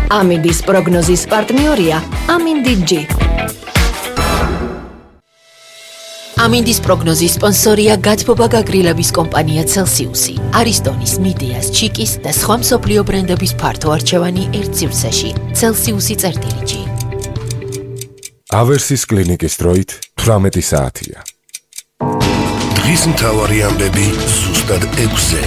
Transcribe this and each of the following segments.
ამინდის პროგნოზის პარტნიორია ამინდი-G. ამინდის პროგნოზის სპონსორია გათბობა გაგრილების კომპანია Celsius-ი, არისტონის, მიდეას, ჩიკის და სხვა მსოფლიო ბრენდების ფართო არჩევანი ერთ სივრცეში. Celsius-G. ავერსის კლინიკის დროით 18 საათია. დღის მთავარი ამბები ზუსტად 6-ზე.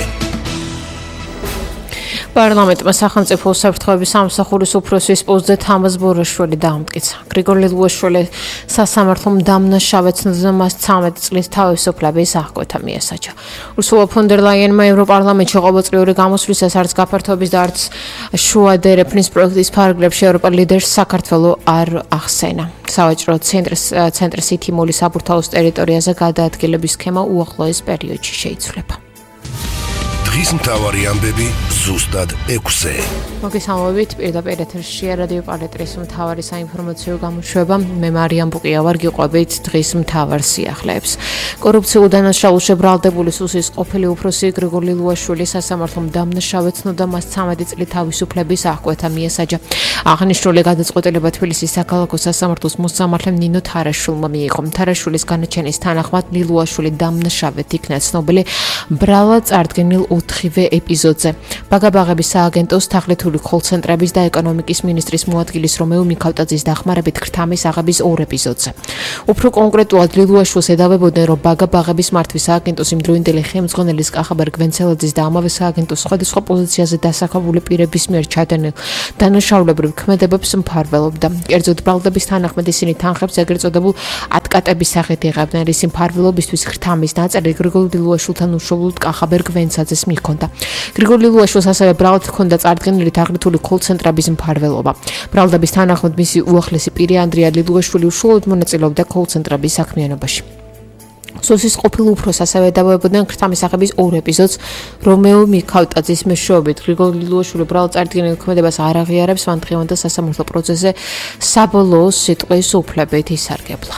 პარლამენტმა სახელმწიფო უსაფრთხოების სამსახურის უფროსის პოსტზე თამაზ ბორაშვილი დაამტკიცა. გრიგორ ლილუაშვილი სასამართლომ დამნაშავედ ცნობდა მას 13 წლის თავისუფლების აღკვეთა მიესაჯა. ურსულა ფონ დერ ლაიენმა ევროპარლამენტში ყოველწლიური გამოსვლისას არც გაფართოების და არც შუა დერეფნის პროექტის ფარგლებში ევროპელ ლიდერს საქართველო არ ახსენა. სავაჭრო ცენტრის ითიმული საბურთალოს ტერიტორიაზე გადაადგილების სქემა უახლოეს პერიოდში შეიცვლება. დღის მთავარი ამბები ზუსტად 6-ზე. მოგესალმებით, პირდაპირ ეთერშია რადიო პალეტრის მთავარი საინფორმაციო გამოშვება. მე მარიამ ბუკია ვარ, გიყვებით დღის მთავარ სიახლეებს. კორუფციულ დანაშაულში ბრალდებული სუსის ყოფილი უფროსი გრიგორ ლილუაშვილი სასამართლომ დამნაშავედ ცნობდა მას 13 წლის თავისუფლების აღკვეთა მიესაჯა. აღნიშნული გადაწყვეტილება თბილისის საქალაქო სასამართლოს მოსამართლემ ნინო თარაშვილმა მიიღო. თარაშვილის განაჩენის თანახმად ლილუაშვილი დამნაშავედ იქნა ცნობილი ბრალად წარდგენილ 4-ვე ეპიზოდზე. ბაგაბაღების სააგენტოს თაღლითური კოლცენტრების და ეკონომიკის მინისტრის მოადგილის რომეო მიქალტაძის დახმარებით ქრთამის აღების 2 ეპიზოდზე. უფრო კონკრეტულად ლილუაშვილს ედავებოდნენ, რომ ბაგაბაღების მართვის სააგენტოს იმდროინდელი ხელმძღვანელის კახაბერ გვენცელაძის და ამავე სააგენტოს სხვადასხვა პოზიციაზე დასახელებული პირების მიერ ჩადენილ დანაშაულებრივ ქმედებებს მფარველობდა. კერძოდ ბრალდების თანახმად ისინი თანხებს ეგრეთ წოდებულ ატკატების სახით იღებდნენ, რის მფარველობისთვის ქრთამის ნაწილი გრიგორ ლილუაშვილთან უშუალოდ კახაბერ გვენცელაძეს მიქონდა. გრიგორ ლილუაშვილს ასევე ბრალად ჰქონდა წარდგენილი თაღლითური კოლცენტრების მფარველობა. ბრალდების თანახმად მისი უახლესი პირი ანდრია ლილუაშვილი უშუალოდ მონაწილეობდა კოლცენტრების საქმიანობაში. სუსის ყოფილ უფროს ასევე ედავებოდნენ ქრთამის აღების 2 ეპიზოდს რომეო მიქალტაძის მეშვეობით. გრიგორ ლილუაშვილი ბრალად წარდგენილ ქმედებას არ აღიარებს, მან დღევანდელ სასამართლო პროცესზე საბოლოო სიტყვის უფლებით ისარგებლა.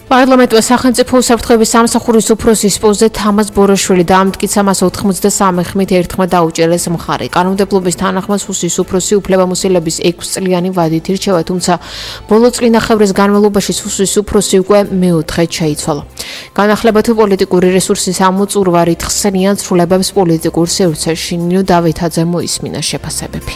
პარლამენტმა სახელმწიფო უსაფრთხოების სამსახურის უფროსის პოსტზე თამაზ ბორაშვილი დაამტკიცა, მას 93 ხმით ერთხმად დაუჭერეს მხარი. კანონმდებლობის თანახმად სუსის უფროსი უფლებამოსილების 6 წლიანი ვადით ირჩევა, თუმცა ბოლო წლინახევრის განმავლობაში სუსის უფროსი უკვე მეოთხედ შეიცვალა. განახლება თუ პოლიტიკური რესურსის ამოწურვარით ხსენიან ცვლილებებს პოლიტიკურ სივრცეში. ნინო დავითაძე მოისმინა შეფასებები.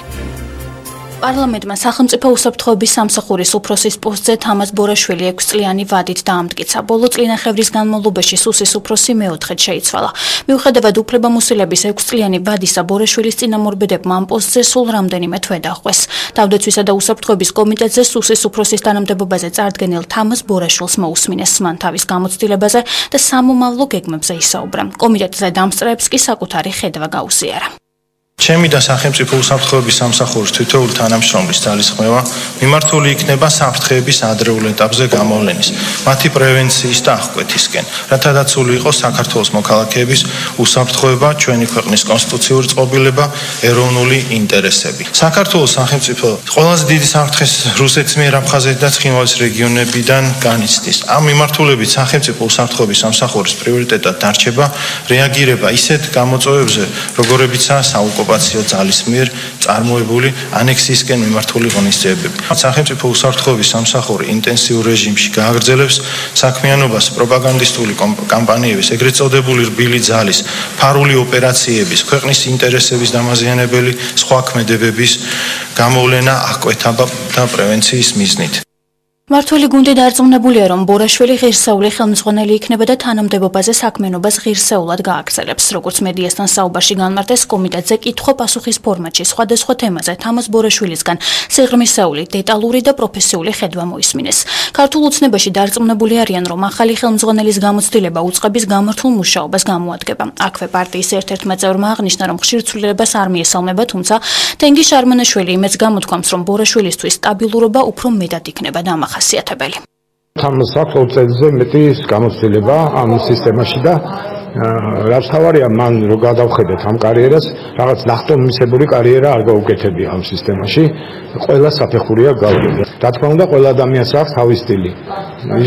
პარლამენტმა სახელმწიფო უსაფრთხოების სამსახურის უფროსის პოსტზე თამაზ ბორაშვილი 6 წლიანი ვადით დაამტკიცა. ბოლო წლინახევრის განმავლობაში სუსის უფროსი მეოთხედ შეიცვალა. მიუხედავად უფლებამოსილების 6 წლიანი ვადისა, ბორაშვილის წინამორბედებმა ამ პოსტზე სულ რამდენიმე თვე დაჰყვეს. თავდაცვისა და უსაფრთხოების კომიტეტზე სუსის უფროსის თანამდებობაზე წარდგენილ თამაზ ბორაშვილს მოусმინეს, მან თავის გამოცდილებაზე და სამომავლო გეგმებზე ისაუბრა. კომიტეტზე დამსწრეებს კი საკუთარი ხედვა გაუსიარა. ჩემი და სახელმწიფო უსაფრთხოების სამსახურის თითოეული თანამშრომლის ძალისხმევა მიმართული იქნება საფრთხეების ადრეულ ეტაპზე გამოვლენის, მათი პრევენციის და აღკვეთისკენ, რათა დაცული იყოს საქართველოს მოქალაქეების უსაფრთხოება, ჩვენი ქვეყნის კონსტიტუციური წყობილება, ეროვნული ინტერესები. საქართველოს სახელმწიფო ყველაზე დიდი საფრთხეს რუსეთის მიერ აფხაზეთი და ცხინვალის რეგიონებიდან განიცდის. ამ მიმართულებით სახელმწიფო უსაფრთხოების სამსახურის პრიორიტეტად დარჩება რეაგირება ისეთ გამოწვევებზე, როგორებიცაა საოკუპაციო ძალის მიერ წარმოებული ანექსიისკენ მიმართული ღონისძიებები. სახელმწიფო უსაფრთხოების სამსახური ინტენსიურ რეჟიმში გააგრძელებს საქმიანობას პროპაგანდისტული კამპანიების, ეგრეთ წოდებული რბილი ძალის, ფარული ოპერაციების, ქვეყნის ინტერესების დამაზიანებელი სხვა ქმედებების გამოვლენა, აღკვეთა და პრევენციის მიზნით. მართველი გუნდი დარწმუნებულია, რომ ბორაშვილი ღირსეული ხელმძღვანელი იქნება და თანამდებობაზე საქმიანობას ღირსეულად გააგრძელებს. როგორც მედიასთან საუბარში განმარტეს, კომიტეტზე კითხვა-პასუხის ფორმატში სხვადასხვა თემაზე თამაზ ბორაშვილისგან სიღრმისეული, დეტალური და პროფესიული ხედვა მოისმინეს. ქართულ ოცნებაში დარწმუნებული არიან, რომ ახალი ხელმძღვანელის გამოცდილება უწყების გამართულ მუშაობას გამოადგება. აქვე პარტიის ერთ-ერთმა წევრმა აღნიშნა, რომ ხშირ ცვლილებას არ მიესალმება, თუმცა თენგი შარმანაშვილი იმედს გამოთქვამს, რომ ბორაშვილისთვის სტაბილურობა უფრო მეტად იქნება დამახასიათებელი. თამაზს აქვს 20 წელზე მეტი გამოცდილება ამ სისტემაში და რაც თავარია მან რო გადავხედეთ ამ კარიერას, რაღაც ნახტომისებური კარიერა არ გაუკეთებია ამ სისტემაში. ყველა საფეხურია გავიდა. რა თქმა უნდა, ყველა ადამიანს აქვს თავის სტილი.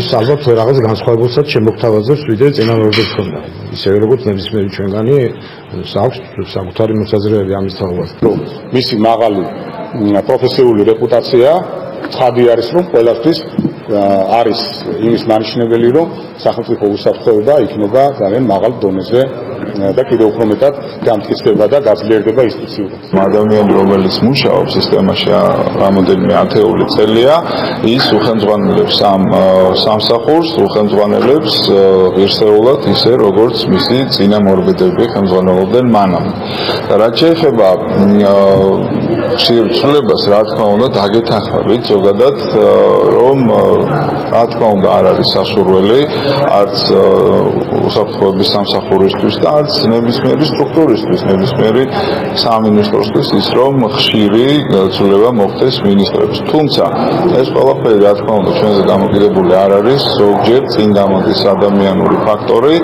ის ალბათ რაღაც განსხვავებულსაც შემოგთავაზებს, ვიდრე წინამორბედს ჰქონდა. ისევე როგორც ნებისმიერი ჩვენგანი აქვს საკუთარი მოსაზრებები ამის თაობას. მისი მაღალი პროფესიული რეპუტაცია ცხადი არის, რომ ყველასთვის არის იმის მანიშნებელი, რომ სახელმწიფო უსაფრთხოება იქნება ძალიან მაღალ დონეზე და კიდევ უფრო მეტად გამტკიცდება და გაძლიერდება ინსტიტუციურად. ადამიანი, რომელიც მუშაობს სისტემაში რამოდენიმე ათეული წელია, ის უხელმძღვანელებს ამ სამსახურს, უხელმძღვანელებს ღირსეულად ისე, როგორც მისი წინამორბედები ხელმძღვანელობდნენ მანამ. რაც შეეხება ხშირ ცვლილებას, რა თქმა უნდა, დაგეთანხმებით ზოგადად, რომ რა თქმა უნდა არ არის სასურველი არც უსაფრთხოების სამსახურისთვის და არც ნებისმიერი სტრუქტურისთვის, ნებისმიერი სამინისტროსთვის ის, რომ ხშირი ცვლილება მოხდეს მინისტრებს. თუმცა ეს ყველაფერი რა თქმა უნდა ჩვენზე დამოკიდებული არ არის, ზოგჯერ წინ გამოდის ადამიანური ფაქტორი.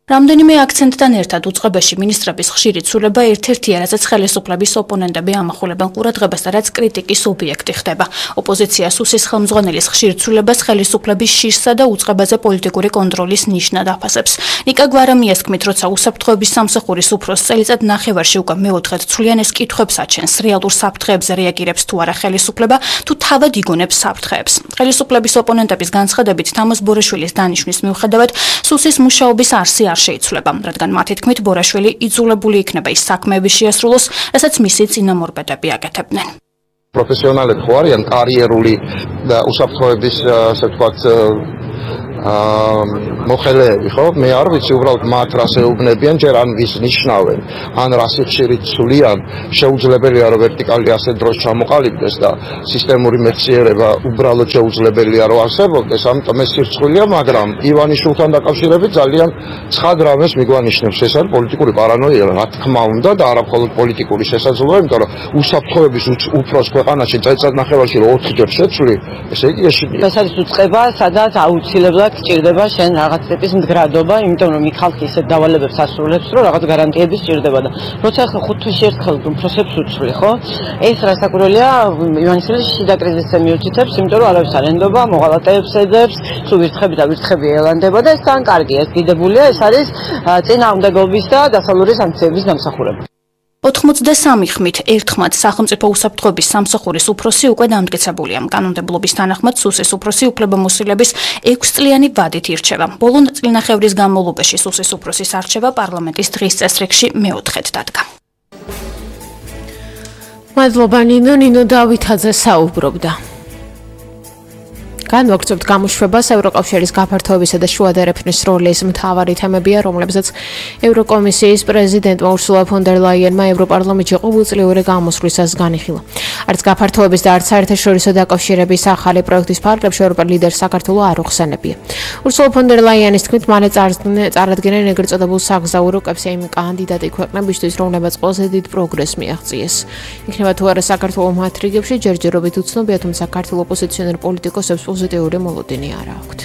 რამდენიმე აქცენტთან ერთად უწყებაში მინისტრების ხშირი ცვლილება ერთ-ერთია, რაზეც ხელისუფლების ოპონენტები ამახვილებენ ყურადღებას და რაც კრიტიკის ობიექტი ხდება. ოპოზიცია სუსის ხელმძღვანელის ხშირ ცვლილებას ხელისუფლების შიშსა და უწყებაზე პოლიტიკური კონტროლის ნიშნად აფასებს. ნიკა გვარამიას თქმით, როცა უსაფრთხოების სამსახურის უფროს წელიწად ნახევარში უკვე მეოთხედ ცვლიან, ეს კითხვებს აჩენს, რეალურ საფრთხეებზე რეაგირებს თუ არა ხელისუფლება, თუ თავად იგონებს საფრთხეებს. ხელისუფლების ოპონენტების განცხადებით, თამაზ ბორაშვილის დანიშვნის მიუხედავად, სუსის მუშაობის არსი არ შეიცვლება, რადგან მათი თქმით ბორაშვილი იძულებული იქნება ის საქმეები შეასრულოს, რასაც მისი წინამორბედები აკეთებდნენ. პროფესიონალები ხო არიან კარიერული და უსაფრთხოების ასე ვთქვათ მოხელეები, ხო? მე არ ვიცი უბრალოდ მათ რას ეუბნებიან, ჯერ ან ვის ნიშნავენ, ან რა სიხშირით ცვლიან, შეუძლებელია რომ ვერტიკალი ასე დროს ჩამოყალიბდეს და სისტემური მეცნიერება უბრალოდ შეუძლებელია რომ არსებობდეს, ამიტომ ეს სირცხვილია, მაგრამ ივანიშვილთან დაკავშირებით ძალიან ცხად რამეს მიგვანიშნებს, ეს არის პოლიტიკური პარანოია, რა თქმა უნდა და არა მხოლოდ პოლიტიკური შესაძლებლობა, იმიტომ რომ უსაფრთხოების უფროს ქვეყანაში წელიწად ნახევარში 4 ჯერ შეცვლი, ესე იგი ეშინია. ეს არის უწყება, სადაც აუცილებლად სჭირდება შენ რაღაც ტიპის მდგრადობა, იმიტომ რომ იქ ხალხი ისეთ დავალებებს ასრულებს, რომ რაღაც გარანტიები სჭირდება და როცა ახლა 5 თვეში ერთხელ უფროსებს უცვლი, ხო? ეს რასაკვირველია, ივანიშვილის შიდა კრიზისზე მიუთითებს, იმიტომ რომ არავის არ ენდობა, მოღალატეებს ეძებს, სულ ვირთხები და ვირთხები ელანდება და ეს თან კარგია, ეს დიდებულია, ეს არის წინააღმდეგობის და დასავლური სანქციების დამსახურება. 83 ხმით ერთხმად სახელმწიფო უსაფრთხოების სამსახურის უფროსი უკვე დამტკიცებულია. კანონმდებლობის თანახმად სუსის უფროსი უფლებამოსილების 6 წლიანი ვადით ირჩევა. ბოლო წლინახევრის განმავლობაში სუსის უფროსის არჩევა პარლამენტის დღის წესრიგში მეოთხედ დადგა. მადლობა ნინო დავითაძე საუბრობდა. განვაგრძობთ გამოშვებას ევროკავშირის გაფართოებისა და შუა დერეფნის როლის მთავარი თემებია, რომლებზეც ევროკომისიის პრეზიდენტმა ურსულა ფონ დერ ლაიენმა ევროპარლამენტში ყოველწლიური გამოსვლისას განიხილა. არც გაფართოების და არც საერთაშორისო დაკავშირების ახალი პროექტის ფარგლებში ევროპელ ლიდერს საქართველო არ უხსენებია. ურსულა ფონ დერ ლაიენის თქმით, მალე წარადგენენ ეგრეთ წოდებულ საგზაურო კებს იმ კანდიდატი ქვეყნებისთვის, რომლებაც ყველაზე დიდ პროგრესს მიაღწიეს. იქნება თუ არა საქართველო მათ რიგებში, ჯერჯერობით უცნობია, თუმცა ქართულ ოპოზიციონერ პოლიტიკოსებს პოზიტიური მოლოდინი არ აქვთ.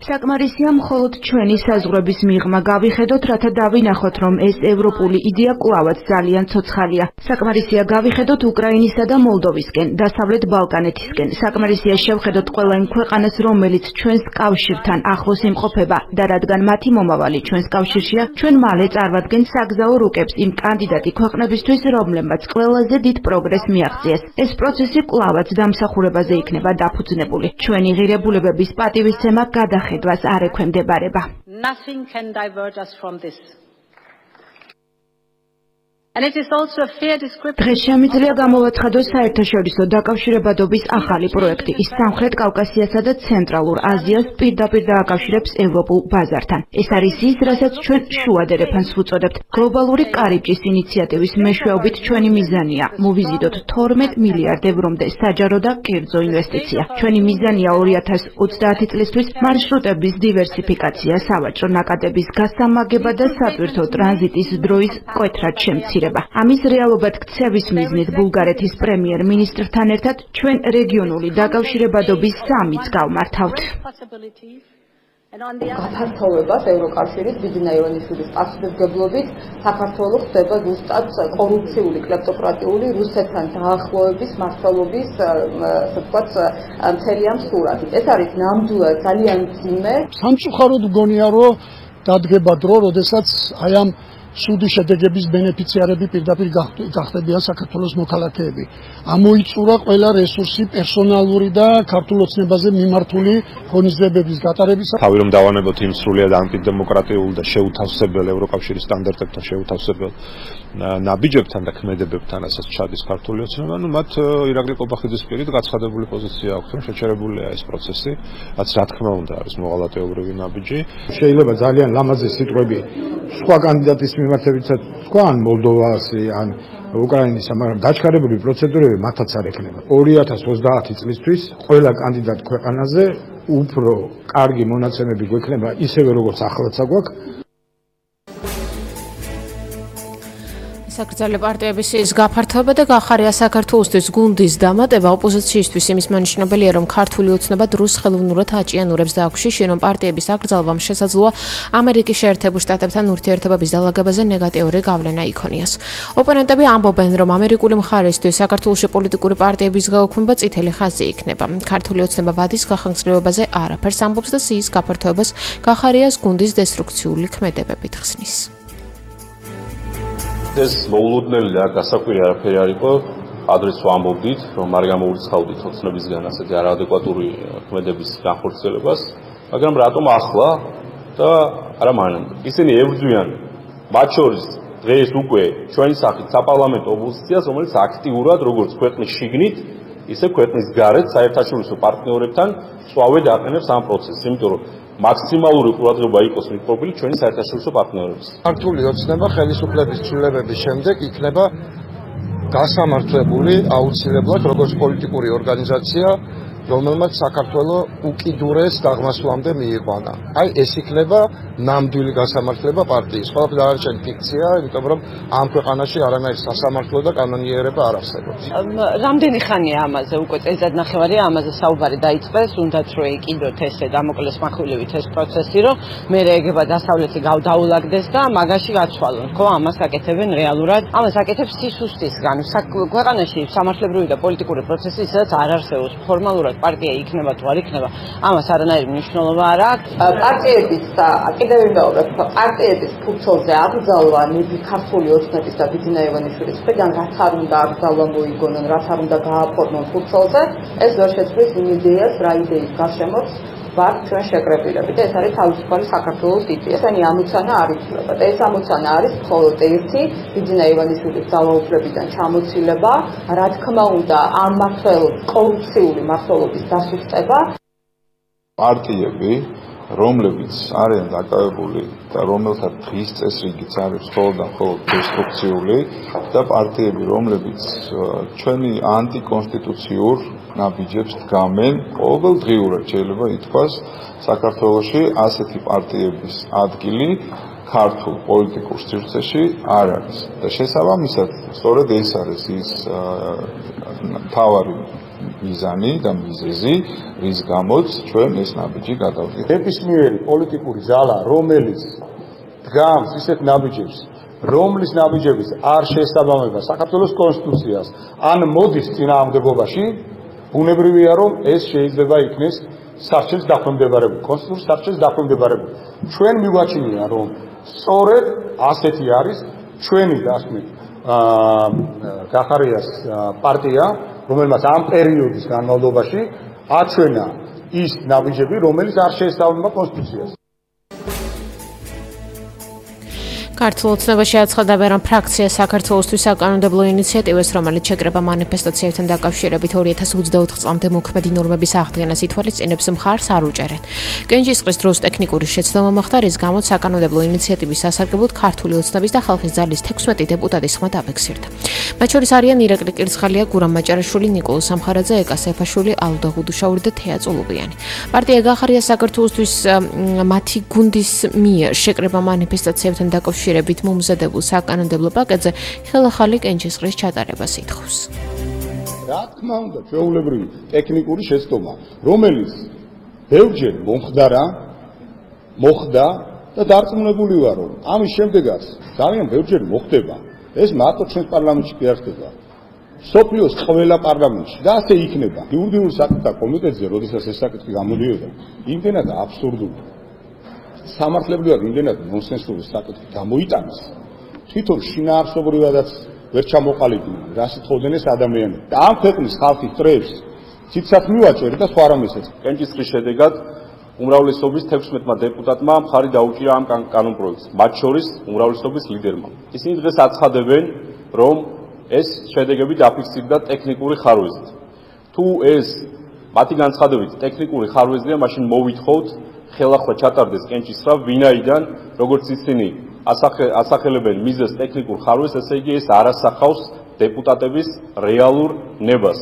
საკმარისია მხოლოდ ჩვენი საზღვრების მიღმა გავიხედოთ, რათა დავინახოთ, რომ ეს ევროპული იდეა კვლავაც ძალიან ცოცხალია. საკმარისია გავიხედოთ უკრაინისა და მოლდოვისკენ, დასავლეთ ბალკანეთისკენ. საკმარისია შევხედოთ ყველა იმ ქვეყანას, რომელიც ჩვენს კავშირთან ახლოს იმყოფება და რადგან მათი მომავალი ჩვენს კავშირშია, ჩვენ მალე წარვადგენთ საგზაო რუკებს იმ კანდიდატი ქვეყნებისთვის, რომლებმაც ყველაზე დიდ პროგრესს მიაღწიეს. ეს პროცესი კვლავაც დამსახურებაზე იქნება დაფუძნებული. ჩვენი ღირებულებების პატივისცემა გადახედვას არ ექვემდებარება. დღეს შემიძლია გამოვაცხადოს საერთაშორისო დაკავშირებადობის ახალი პროექტი. ის სამხრეთ კავკასიასა და ცენტრალურ აზიას პირდაპირ დააკავშირებს ევროპულ ბაზართან. ეს არის ის, რასაც ჩვენ შუა დერეფანს ვუწოდებთ. გლობალური კარიბჭის ინიციატივის მეშვეობით ჩვენი მიზანია მოვიზიდოთ 12 მილიარდ ევრომდე საჯარო და კერძო ინვესტიცია. ჩვენი მიზანია 2030 წლისთვის მარშრუტების დივერსიფიკაცია, სავაჭრო ნაკადების გასამაგება და სატვირთო ტრანზიტის დროის მკვეთრად შემცირება. ამის რეალობად ქცევის მიზნით ბულგარეთის პრემიერ-მინისტრთან ერთად ჩვენ რეგიონული დაკავშირებადობის სამიც გავმართავთ. გაფართოვებას ევროკავშირის ბიძინა ივანიშვილის პასუხისმგებლობით საქართველოს ხდება ზუსტად კორუფციული, კლეპტოკრატიული რუსეთთან დაახლოების მართლობის, ასე ვთქვათ, მთელი ამ სურათი. ეს არის ნამდვილად ძალიან მძიმე. სამწუხაროდ მგონია, რომ დადგება დრო, როდესაც აი ამ სუდის შედეგების ბენეფიციარები პირდაპირ გახდებიან საქართველოს მოქალაქეები. ამოიწურა ყველა რესურსი პერსონალური და ქართულ ოცნებაზე მიმართული ღონისძიებების გატარებისა. თავი რომ დავანებოთ იმ სრულიად ანტიდემოკრატიულ და შეუთავსებელ ევროკავშირის სტანდარტებთან შეუთავსებელ ნაბიჯებთან და ქმედებებთან, რასაც ჩადის ქართული ოცნება, მათ ირაკლი ყობახიძის პირით გაცხადებული პოზიცია აქვს, რომ შეჩერებულია ეს პროცესი, რაც რა თქმა უნდა არის მოღალატეობრივი ნაბიჯი. შეიძლება ძალიან ლამაზი სიტყვები სხვა კანდიდატის მიმართებითაც თქვა ან მოლდოვასი ან უკრაინისა, მაგრამ დაჩქარებული პროცედურები მათაც არ ექნება. 2030 წლისთვის ყველა კანდიდატ ქვეყანაზე უფრო კარგი მონაცემები გვექნება ისევე როგორც ახლაც აგვაქვს. საკრძალე პარტიების ის გაფართოება და გახარია საქართველოსთვის გუნდის დამატება ოპოზიციისთვის იმის მანიშნებელია, რომ ქართული ოცნება დროს ხელოვნურად აჭიანურებს და აქში რომ პარტიების აკრძალვამ შესაძლოა ამერიკის შეერთებულ შტატებთან ურთიერთობების დალაგებაზე ნეგატიური გავლენა იქონიას. ოპონენტები ამბობენ, რომ ამერიკული მხარისთვის საქართველოში პოლიტიკური პარტიების გაუქმება წითელი ხაზი იქნება. ქართული ოცნება ვადის გახანგრძლივებაზე არაფერს ამბობს და სიის გაფართოებას გახარიას გუნდის დესტრუქციული ქმედებებით ხსნის. ეს მოულოდნელი და გასაკვირი არაფერი არ იყო. ადრეს ვამბობდით, რომ არ გამოურიცხავდით ოცნებისგან ასეთი არაადეკვატური ქმედების განხორციელებას, მაგრამ რატომ ახლა და არა მანამდე. ისინი ებრძვიან მათ შორის დღეს უკვე ჩვენი სახით საპარლამენტო ოპოზიციას, რომელიც აქტიურად როგორც ქვეყნის შიგნით, ისე ქვეყნის გარეთ საერთაშორისო პარტნიორებთან სწავედ აყენებს ამ პროცესს, იმიტომ რომ მაქსიმალური ყურადღება იყოს მიკროფილი ჩვენი საერთაშორისო პარტნიორების. ქართული ოცნება ხელისუფლების ცვლილებების შემდეგ იქნება გასამართლებული აუცილებლად როგორც პოლიტიკური ორგანიზაცია, რომელმაც საქართველოს უკიდურეს დაღმასვლამდე მიიყვანა. აი ეს იქნება ნამდვილი გასამართლება პარტიის. ყველაფერი არჩევნი ფიქცია, იმიტომ რომ ამ ქვეყანაში არანაირი სასამართლო და კანონიერება არ არსებობს. რამდენი ხანია ამაზე უკვე წელიწადნახევარია ამაზე საუბარი დაიწყეს, უნდათ რომ ეკიდოთ ესე დამოკლეს מחვილივით ეს პროცესი, რომ მე ეგება დასავლეთი გავდაულაგდეს და მაგაში გაცვალონ, ხო, ამას აკეთებენ რეალურად. ამას აკეთებს სისუსტისგან. ქვეყანაში სამართლებრივი და პოლიტიკური პროცესი ისედაც არ არსებობს. ფორმალურად პარტია იქნება თუ არ იქნება, ამას არანაირი მნიშვნელობა არ აქვს. პარტიების კიდევ ვიმეორებ, პარტიების ფურცელზე აკრძალვა ქართული ოცნების და ბიძინა ივანიშვილის მხრიდან რაც არ უნდა აკრძალვა მოიგონონ, რაც არ უნდა გააფორმონ ფურცელზე, ეს ვერ შეცვლის იმ იდეას, რა იდეის გარშემოც ვართ ჩვენ შეკრებილები და ეს არის თავისუფალი საქართველოს იდეა. ესენი ამოცანა არ იცვლება და ეს ამოცანა არის მხოლოდ ერთი ბიძინა ივანიშვილის ძალაუფლებიდან ჩამოცილება, რა თქმა უნდა ამ მართლ კორუფციული მართლობის დასუსტება. პარტიები, რომლებიც არიან დაკავებული და რომელთა დღის წესრიგიც არის მხოლოდ დესტრუქციული და პარტიები, რომლებიც ჩვენი ანტიკონსტიტუციურ ნაბიჯებს დგამენ, ყოველდღიურად შეიძლება ითქვას, საქართველოში ასეთი პარტიების ადგილი ქართულ პოლიტიკურ სივრცეში არ არის. და შესაბამისად, სწორედ ეს არის ის მთავარი მიზანი და მიზეზი, რის გამოც ჩვენ ეს ნაბიჯი გადავდით. ნებისმიერი პოლიტიკური ძალა, რომელიც დგამს ისეთ ნაბიჯებს, რომლის ნაბიჯების არ შეესაბამება საქართველოს კონსტიტუციას, ან მოდის წინააღმდეგობაში, ბუნებრივია, რომ ეს შეიძლება იქნეს სარჩელს დაქვემდებარებული, კონსტიტუციის სარჩელს დაქვემდებარებული. ჩვენ მივაჩნია, რომ სწორედ ასეთი არის ჩვენი დასმით გახარიას პარტია, რომელმაც ამ პერიოდის განმავლობაში აჩვენა ის ნაბიჯები, რომელიც არ შეესაბამება კონსტიტუციას. ქართულ ოცნებაში აცხადა რომ ფრაქცია საქართველოსთვის საკანონმდებლო ინიციატივას, რომელიც შეკრება მანიფესტაციებთან დაკავშირებით 2024 წლამდე მოქმედი ნორმების აღდგენას ითვალისწინებს, მხარს არ უჭერენ. კენჭისყრის დროს ტექნიკური შეცდომა მოხდა, რის გამოც საკანონმდებლო ინიციატივის სასარგებლოდ ქართული ოცნების და ხალხის ძალის 16 დეპუტატის ხმა დაფიქსირდა. მათ შორის არიან ირაკლი კირცხალია, გურამ მაჭარაშვილი, ნიკოლოზ სამხარაძე, ეკა სეფაშვილი, ალუდა გუდუშაური და თეა წულუბიანი. პარტია გახარია საქართველოსთვის მათი გუნდის მიერ შეკრება მანიფესტაციებთან დაკავშირებით მომზადებულ საკანონმდებლო პაკეტზე ხელახალი კენჭისყრის ჩატარებას ითხოვს. რა თქმა უნდა, ჩვეულებრივი ტექნიკური შეცდომა, რომელიც ბევრჯერ მომხდარა მოხდა და დარწმუნებული ვარ, რომ ამის შემდეგაც ძალიან ბევრჯერ მოხდება. ეს მარტო ჩვენს პარლამენტში კი არ ხდება. სოფლიოს ყველა პარლამენტში და ასე იქნება. იურიდიულ საკითხთა კომიტეტზე, როდესაც ეს საკითხი გამოდიოდა, იმდენად აბსურდული, სამართლებრივად იმდენად ნონსენსური საკითხი გამოიტანეს, თვითონ შინაარსობრივადაც ვერ ჩამოყალიბდნენ, რას ითხოვდნენ ეს ადამიანები. და ამ ქვეყნის ხალხის წრეებს ციცად მივაჭერი და სხვა რამესაც. კენჭისყრის შედეგად უმრავლესობის 16-მა დეპუტატმა მხარი დაუჭირა ამ კანონპროექტს, მათ შორის უმრავლესობის ლიდერმა. ისინი დღეს აცხადებენ, რომ ეს შედეგები დაფიქსირდა ტექნიკური ხარვეზით. თუ ეს მათი განცხადებით ტექნიკური ხარვეზია, მაშინ მოვითხოვთ ხელახლა ჩატარდეს კენჭისყრა, ვინაიდან, როგორც ისინი ასახელებენ მიზეს ტექნიკურ ხარვეზს, ესე იგი ეს არ ასახავს დეპუტატების რეალურ ნებას.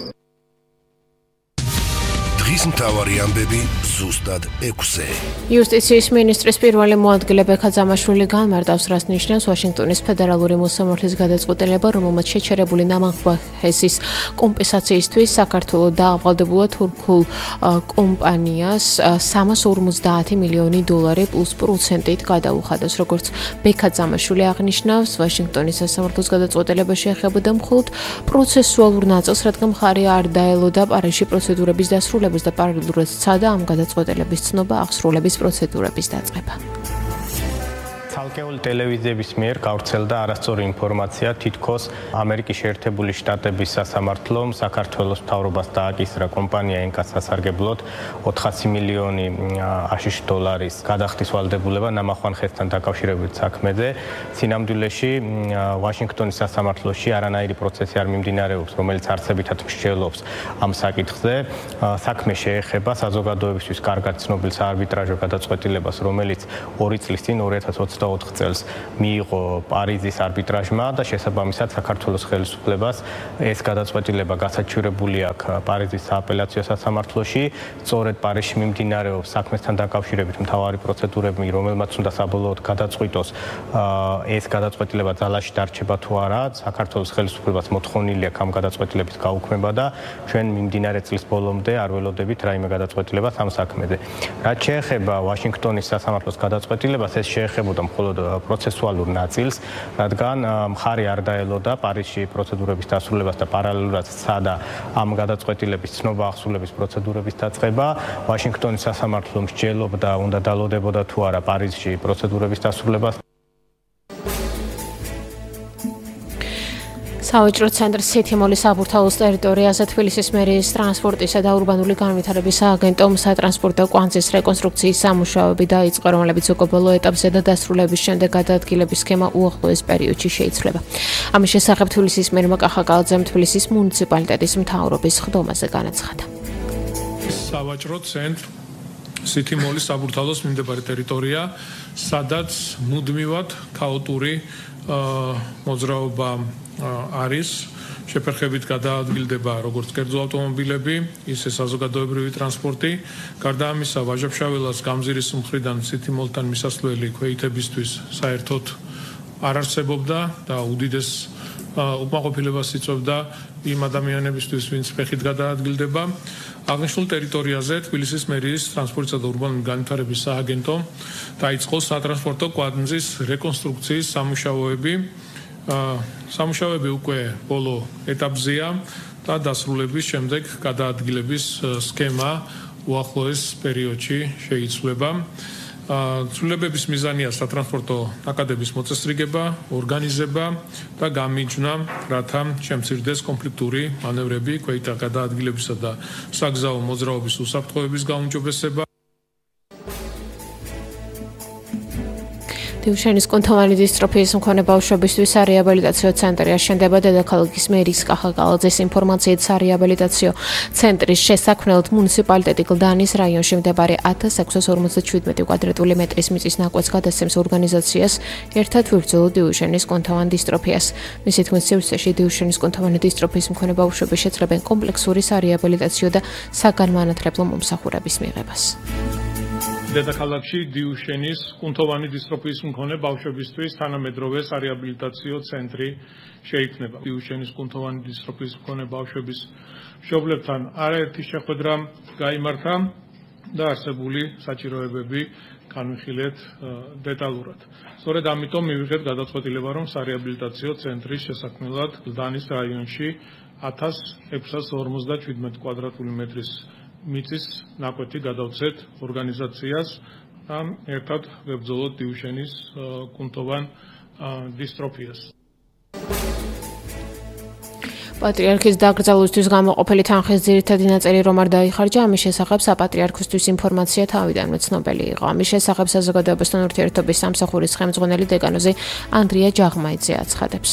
დღის მთავარი ამბები ზუსტად 6-ზე. იუსტიციის მინისტრის პირველი მოადგილე ბექა ძამაშვილი განმარტავს, რაც ნიშნავს ვაშინგტონის ფედერალური მოსამართლის გადაწყვეტილება, რომელმაც შეჩერებული ნამარხების კომპენსაციისთვის საქართველოს დაავალდებულა თურქულ კომპანიას 350 მილიონი დოლარი პლუს პროცენტით გადაუხადოს. როგორც ბექა ძამაშვილი აღნიშნავს, ვაშინგტონის სასამართლოს გადაწყვეტილება შეეხებოდა მხოლოდ პროცესუალურ ნაწილს, რადგან მხარი არ დაელოდა პარიზში პროცედურების დასრულებას და პარალელურად სცადა ამ გადაწყვეტილების ცნობა აღსრულების პროცედურების დაწყება. ცალკეული ტელევიზიების მიერ გავრცელდა არასწორი ინფორმაცია, თითქოს ამერიკის შეერთებული შტატების სასამართლომ საქართველოს მთავრობას დააკისრა კომპანია ენკას სასარგებლოდ 400 მილიონი აშშ დოლარის გადახდის ვალდებულება ნამახვან ხესთან დაკავშირებით საქმეზე. სინამდვილეში ვაშინგტონის სასამართლოში არანაირი პროცესი არ მიმდინარეობს, რომელიც არსებითად მსჯელობს ამ საკითხზე. საქმე შეეხება საზოგადოებისთვის კარგად ცნობილ საარბიტრაჟო გადაწყვეტილებას, რომელიც 2 წლის წინ 2024 წელს მიიღო პარიზის არბიტრაჟმა და შესაბამისად საქართველოს ხელისუფლებას ეს გადაწყვეტილება გასაჩივრებული აქვს პარიზის სააპელაციო სასამართლოში. სწორედ პარიზში მიმდინარეობს საქმესთან დაკავშირებით მთავარი პროცედურები, რომელმაც უნდა საბოლოოდ გადაწყვიტოს ეს გადაწყვეტილება ძალაში დარჩება თუ არა. საქართველოს ხელისუფლებას მოთხოვნილი აქვს ამ გადაწყვეტილების გაუქმება და ჩვენ მიმდინარე წლის ბოლომდე არ ველოდებით რაიმე გადაწყვეტილებას ამ საქმეზე. რაც შეეხება ვაშინგტონის სასამართლოს გადაწყვეტილებას, ეს შეეხებოდა მხოლოდ პროცესუალურ ნაწილს, რადგან მხარი არ დაელოდა პარიზში პროცედურების დასრულებას და პარალელურად სცადა ამ გადაწყვეტილების ცნობა აღსრულების პროცედურების დაწყება. ვაშინგტონის სასამართლო მსჯელობდა, უნდა დალოდებოდა თუ არა პარიზში პროცედურების დასრულებას. სავაჭრო ცენტრ სითიმოლის საბურთალოს ტერიტორიაზე თბილისის მერიის ტრანსპორტისა და ურბანული განვითარების სააგენტომ სატრანსპორტო კვანძის რეკონსტრუქციის სამუშაოები დაიწყო, რომლებიც უკვე ბოლო ეტაპზე და დასრულების შემდეგ გადაადგილების სქემა უახლოეს პერიოდში შეიცვლება. ამის შესახებ თბილისის მერმა კახაკალაძემ თბილისის მუნიციპალიტეტის მთავრობის ხდომაზე განაცხადა. სავაჭრო ცენტრ სითიმოლის საბურთალოს მიმდებარე ტერიტორია, სადაც მუდმივად ქაოტური მოძრაობა არის, შეფერხებით გადაადგილდება როგორც კერძო ავტომობილები, ისე საზოგადოებრივი ტრანსპორტი. გარდა ამისა, ვაჟა-ფშაველას გამზირის მხრიდან სითიმოლთან მისასვლელი ქვეითებისთვის საერთოდ არ არსებობდა და უდიდეს უკმაყოფილებას იწვევდა იმ ადამიანებისთვის, ვინც ფეხით გადაადგილდება. აღნიშნულ ტერიტორიაზე თბილისის მერიის ტრანსპორტისა და ურბანული განვითარების სააგენტომ დაიწყო სატრანსპორტო კვანძის რეკონსტრუქციის სამუშაოები. სამუშაოები უკვე ბოლო ეტაპზეა და დასრულების შემდეგ გადაადგილების სქემა უახლოეს პერიოდში შეიცვლება. ცვლილებების მიზანია სატრანსპორტო ნაკადების მოწესრიგება, ორგანიზება და გამიჯვნა, რათა შემცირდეს კონფლიქტური მანევრები, ქვეითთა გადაადგილებისა და საგზაო მოძრაობის უსაფრთხოების გაუმჯობესება. დიუშენის კუნთოვანი დისტროფიის მქონე ბავშვებისთვის სარეაბილიტაციო ცენტრი აშენდება. დედაქალაქის მერის კახაკალაძის ინფორმაციით, სარეაბილიტაციო ცენტრის შესაქმნელად მუნიციპალიტეტი გლდანის რაიონში მდებარე 1657 კვადრატული მეტრის მიწის ნაკვეთს გადასცემს ორგანიზაციას ერთად ვიბრძოლოთ დიუშენის კუნთოვან დისტროფიას. მისი თქმით, სივრცეში დიუშენის კუნთოვანი დისტროფიის მქონე ბავშვები შეძლებენ კომპლექსური სარეაბილიტაციო და საგანმანათლებლო მომსახურების მიღებას. დედაქალაქში დიუშენის კუნთოვანი დისტროფიის მქონე ბავშვებისთვის თანამედროვე სარეაბილიტაციო ცენტრი შეიქმნება. დიუშენის კუნთოვანი დისტროფიის მქონე ბავშვების მშობლებთან არაერთი შეხვედრა გაიმართა და არსებული საჭიროებები განვიხილეთ დეტალურად. სწორედ ამიტომ მივიღეთ გადაწყვეტილება, რომ სარეაბილიტაციო ცენტრის შესაქმნელად გლდანის რაიონში 1657 კვადრატული მეტრის მიწის ნაკვეთი გადავცეთ ორგანიზაციას და ერთად ვებრძოლოთ დიუშენის კუნთოვან დისტროფიას. პატრიარქის დაკრძალვისთვის გამოყოფილი თანხის ძირითადი ნაწილი რომ არ დაიხარჯა, ამის შესახებ საპატრიარქოსთვის ინფორმაცია თავიდანვე ცნობილი იყო. ამის შესახებ საზოგადოებასთან ურთიერთობის სამსახურის ხელმძღვანელი დეკანოზი ანდრია ჯაღმაიძე აცხადებს.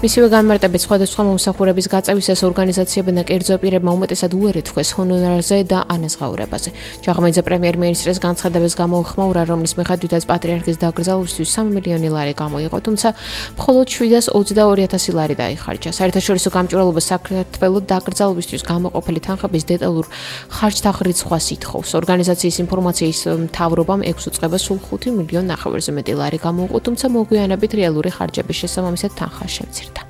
მისივე განმარტებით სხვადასხვა მომსახურების გაწევისას ორგანიზაციებმა და კერძო პირებმა უმეტესად უარი თქვეს ჰონორარზე და ანაზღაურებაზე. ჯაღმაიძე პრემიერ-მინისტრის განცხადებას გამოუხმაურა, რომლის მიხედვითაც პატრიარქის დაკრძალვისთვის 3 მილიონი ლარი გამოიყო, თუმცა მხოლოდ 722,000 ლარი დაიხარჯა. საერთაშორისო გამჭვირვალობა საქართველოს დაკრძალვისთვის გამოყოფილი თანხების დეტალურ ხარჯთაღრიცხვას ითხოვს. ორგანიზაციის ინფორმაციის მთავრობამ 6 უწყება სულ 5 მილიონ ნახევრზე მეტი ლარი გამოუყო, თუმცა მოგვიანებით რეალური ხარჯების შესაბამისად თანხა შემცირდა.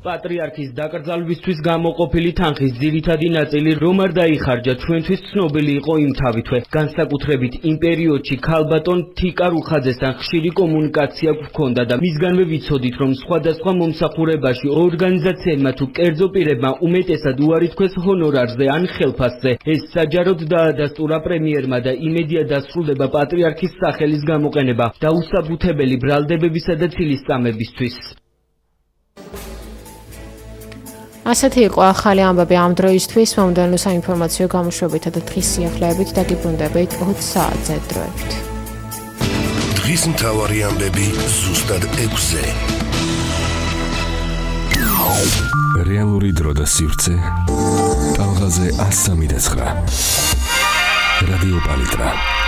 პატრიარქის დაკრძალვისთვის გამოყოფილი თანხის ძირითადი ნაწილი რომ არ დაიხარჯა, ჩვენთვის ცნობილი იყო იმ თავითვე. განსაკუთრებით იმ პერიოდში ქალბატონ თიკა რუხაძესთან ხშირი კომუნიკაცია გვქონდა და მისგანვე ვიცოდით, რომ სხვადასხვა მომსახურებაში ორგანიზაციებმა თუ კერძო პირებმა უმეტესად უარი თქვეს ჰონორარზე ან ხელფასზე. ეს საჯაროდ დაადასტურა პრემიერმა და იმედია დასრულდება პატრიარქის სახელის გამოყენება დაუსაბუთებელი ბრალდებებისა და ცილისწამებისთვის. ასეთი იყო ახალი ამბები ამ დროისთვის. მომდევნო საინფორმაციო გამოშვებითა და დღის სიახლეებით დაგიბრუნდებით 20 საათზე დროებით. დღის მთავარი ამბები ზუსტად 6-ზე. რეალური დრო და სივრცე. ტალღაზე 103.9. რადიო პალიტრა.